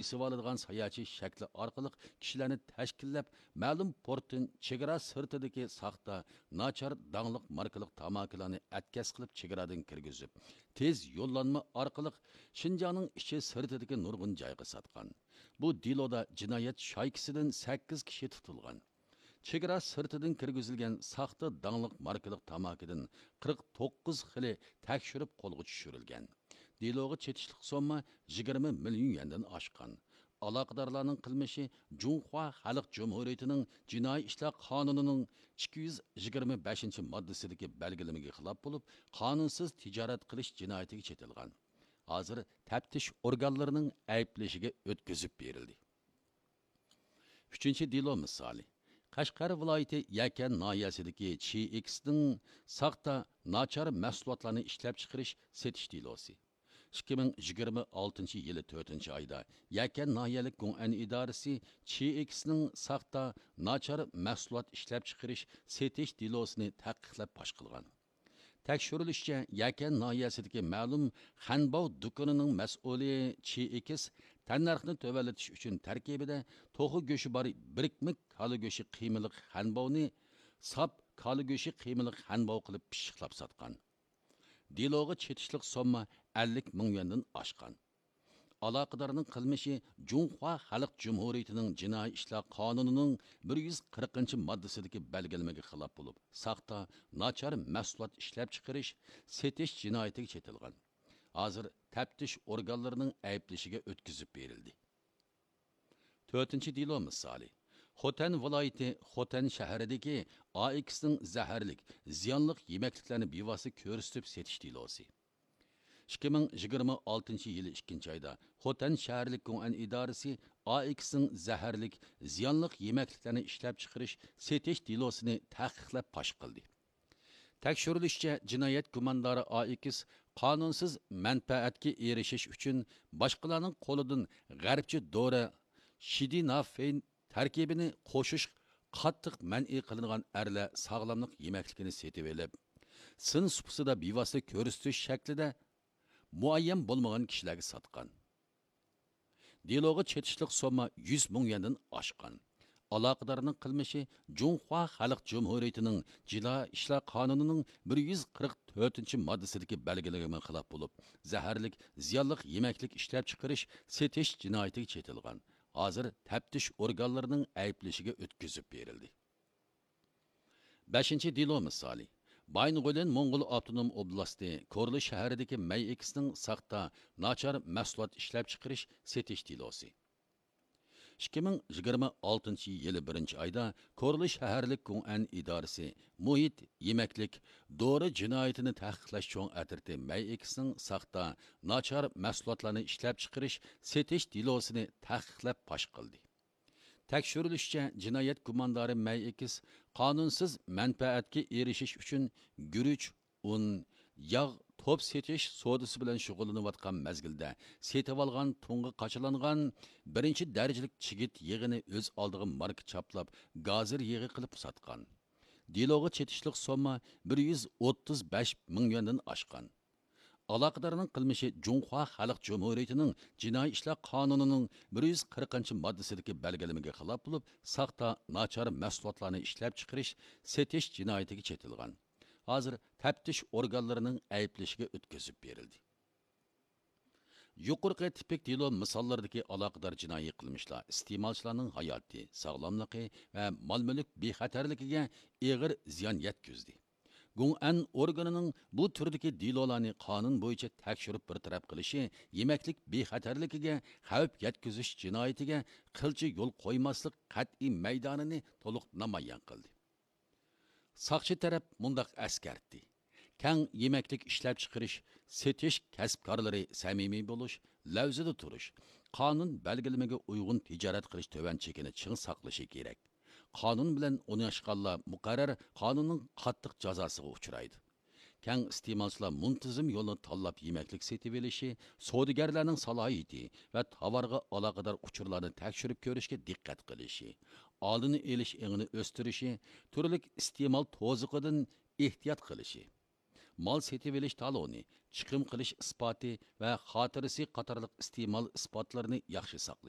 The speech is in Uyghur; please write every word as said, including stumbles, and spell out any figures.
ئېسىۋالىدىغان ساياھەتچى شەكلى ئارقىلىق كىشىلەرنى تەشكىللەپ، مەلۇم پورتتىن چېگرا سىرتىدىكى ساختا، ناچار، داڭلىق ماركىلىق تاماكىلارنى ئەتكەس قىلىپ چېگرادىن كىرگۈزۈپ، تېز يوللانما ئارقىلىق شىنجاڭنىڭ ئىچى سىرتىدىكى نۇرغۇن جايغا ساتقان. بۇ دېلودا جىنايەت شايكىسىدىن سەككىز كىشى تۇتۇلغان. چېگرا سىرتىدىن كىرگۈزۈلگەن ساختا داڭلىق ماركىلىق تاماكىدىن قىرىق توققۇز خىلى تەكشۈرۈپ قولغا چۈشۈرۈلگەن. دېلوغا چېتىشلىق سومما يىگىرمە مىليون يۈەندىن ئاشقان. ئالاقىدارلارنىڭ قىلمىشى جۇڭخۇا خەلق جۇمھۇرىيىتىنىڭ جىنايى ئىشلار قانۇنىنىڭ ئىككى يۈز يىگىرمە بەشىنچى ماددىسىدىكى بەلگىلىمىگە خىلاپ بولۇپ، قانۇنسىز تىجارەت قىلىش جىنايىتىگە چېتىلغان. ھازىر تەپتىش ئورگانلىرىنىڭ ئەيىبلىشىگە ئۆتكۈزۈپ بېرىلدى. ئۈچىنچى دېلو مىسالى. قەشقەر ۋىلايىتى يەكەن ناھىيەسىدىكى چى ئېكسنىڭ ساختا، ناچار مەھسۇلاتلارنى ئىشلەپچىقىرىش، سېتىش دېلوسى. ئىككى مىڭ يىگىرمە ئالتىنچى يىلى تۆتىنچى ئايدا يەكەن ناھىيەلىك گۇڭئەن ئىدارىسى چى ئېكسنىڭ ساختا، ناچار مەھسۇلات ئىشلەپچىقىرىش، سېتىش دېلوسىنى تەھقىقلەپ پاش قىلغان. تەكشۈرۈلۈشىچە، يەكەن ناھىيەسىدىكى مەلۇم خەنباۋ دۇكىنىنىڭ مەسئۇلى چى ئېكس تەننەرخنى تۆۋەنلىتىش ئۈچۈن تەركىبىدە توخۇ گۆشى بار بىرىكمىلىك كالا گۆشى قىيمىلىق خەنباۋنى ساپ كالا گۆشى قىيمىلىق خەنباۋ قىلىپ پىششىقلاپ ساتقان. دېلوغا چېتىشلىق سومما ئەللىك مىڭ يۈەندىن ئاشقان. ئالاقىدارنىڭ قىلمىشى جۇڭخۇا خەلق جۇمھۇرىيىتىنىڭ جىنايى ئىشلار قانۇنىنىڭ بىر يۈز قىرىقىنچى ماددىسىدىكى بەلگىلىمىگە خىلاپ بولۇپ، ساختا، ناچار مەھسۇلات ئىشلەپچىقىرىش، سېتىش جىنايىتىگە چېتىلغان. ھازىر تەپتىش ئورگانلىرىنىڭ ئەيىبلىشىگە ئۆتكۈزۈپ بېرىلدى. تۆتىنچى دېلو مىسالى. خوتەن ۋىلايىتى خوتەن شەھىرىدىكى ئا ئېكسنىڭ زەھەرلىك، زىيانلىق يېمەكلىكلەرنى بىۋاسىتە كۆرسىتىپ سېتىش دېلوسى. ئىككى مىڭ يىگىرمە ئالتىنچى يىلى ئىككىنچى ئايدا خوتەن شەھەرلىك گۇڭئەن ئىدارىسى ئا ئېكسنىڭ زەھەرلىك، زىيانلىق يېمەكلىكلەرنى ئىشلەپچىقىرىش، سېتىش دېلوسىنى تەھقىقلەپ پاش قىلدى. تەكشۈرۈلۈشىچە، جىنايەت گۇماندارى ئا ئېكس قانۇنسىز مەنپەئەتكە ئېرىشىش ئۈچۈن باشقىلارنىڭ قولىدىن غەربچە دورا شىدىنافېن تەركىبىنى قوشۇش قاتتىق مەنئى قىلىنغان ئەرلەر ساغلاملىق يېمەكلىكىنى سېتىۋېلىپ، سىن سۇپىسىدا بىۋاسىتە كۆرسىتىش شەكلىدە مۇئەييەن بولمىغان كىشىلەرگە ساتقان. دېلوغا چېتىشلىق سومما يۈز مىڭ يۈەندىن ئاشقان. ئالاقىدارنىڭ قىلمىشى جۇڭخۇا خەلق جۇمھۇرىيىتىنىڭ جىنايى ئىشلار قانۇنىنىڭ بىر يۈز قىرىق تۆتىنچى ماددىسىدىكى بەلگىلىمىگە خىلاپ بولۇپ، زەھەرلىك، زىيانلىق يېمەكلىك ئىشلەپچىقىرىش، سېتىش جىنايىتىگە چېتىلغان. ھازىر تەپتىش ئورگانلىرىنىڭ ئەيىبلىشىگە ئۆتكۈزۈپ بېرىلدى. بەشىنچى دېلو مىسالى. بايىنغولىن موڭغۇل ئاپتونوم ئوبلاستى كورلا شەھىرىدىكى مەي ئېكسنىڭ ساختا، ناچار مەھسۇلات ئىشلەپچىقىرىش، سېتىش دېلوسى. ئىككى مىڭ يىگىرمە ئالتىنچى يىلى بىرىنچى ئايدا كورلا شەھەرلىك گۇڭئەن ئىدارىسى مۇھىت، يېمەكلىك، دورا جىنايىتىنى تەھقىقلەش چوڭ ئەترىتى مەي ئېكسنىڭ ساختا، ناچار مەھسۇلاتلارنى ئىشلەپچىقىرىش، سېتىش دېلوسىنى تەھقىقلەپ پاش قىلدى. تەكشۈرۈلۈشىچە، جىنايەت گۇماندارى مەي ئېكس قانۇنسىز مەنپەئەتكە ئېرىشىش ئۈچۈن گۈرۈچ، ئۇن، ياغ توپ سېتىش سودىسى بىلەن شۇغۇللىنىۋاتقان مەزگىلدە سېتىۋالغان تۇڭغا قاچىلانغان بىرىنچى دەرىجىلىك چىگىت يېغىنى ئۆز ئالدىغا ماركا چاپلاپ، گازىر يېغى قىلىپ ساتقان. دېلوغا چېتىشلىق سومما بىر يۈز ئوتتۇز بەش مىڭ يۈەندىن ئاشقان. ئالاقىدارنىڭ قىلمىشى جۇڭخۇا خەلق جۇمھۇرىيىتىنىڭ جىنايى ئىشلار قانۇنىنىڭ بىر يۈز قىرىقىنچى ماددىسىدىكى بەلگىلىمىگە خىلاپ بولۇپ، ساختا، ناچار مەھسۇلاتلارنى ئىشلەپچىقىرىش، سېتىش جىنايىتىگە چېتىلغان. ھازىر تەپتىش ئورگانلىرىنىڭ ئەيىبلىشىگە ئۆتكۈزۈپ بېرىلدى. يۇقىرىقى تىپىك دېلو مىساللىرىدىكى ئالاقىدار جىنايى قىلمىشلار ئىستېمالچىلارنىڭ ھاياتى، ساغلاملىقى ۋە مال-مۈلۈك بىخەتەرلىكىگە ئېغىر زىيان يەتكۈزدى. گۇڭئەن ئورگىنىنىڭ بۇ تۈردىكى دېلولارنى قانۇن بويىچە تەكشۈرۈپ بىر تەرەپ قىلىشى يېمەكلىك بىخەتەرلىكىگە خەۋپ يەتكۈزۈش جىنايىتىگە قىلچە يول قويماسلىق قەتئىي مەيدانىنى تولۇق نامايان قىلدى. ساقچى تەرەپ مۇنداق ئەسكەرتتى: كەڭ يېمەكلىك ئىشلەپچىقىرىش، سېتىش كەسىپكارلىرى سەمىمىي بولۇش، لەۋزىدە تۇرۇش، قانۇن بەلگىلىمىگە ئۇيغۇن تىجارەت قىلىش تۆۋەن چېكىنى چىڭ ساقلىشى كېرەك. قانۇن بىلەن ئويناشقانلار مۇقەررەر قانۇننىڭ قاتتىق جازاسىغا ئۇچرايدۇ. كەڭ ئىستېمالچىلار مۇنتىزىم يولنى تاللاپ يېمەكلىك سېتىۋېلىشى، سودىگەرلەرنىڭ سالاھىيىتى ۋە تاۋارغا ئالاقىدار ئۇچۇرلارنى تەكشۈرۈپ كۆرۈشكە دىققەت قىلىشى، ئالدىنى ئېلىش ئېڭىنى ئۆستۈرۈشى، تۈرلۈك ئىستېمال توزۇقىدىن ئېھتىيات قىلىشى، مال سېتىۋېلىش تالونى، چىقىم قىلىش ئىسپاتى ۋە خاتىرىسى قاتارلىق ئىستېمال ئىسپاتلىرىنى ياخشى ساقلىشى.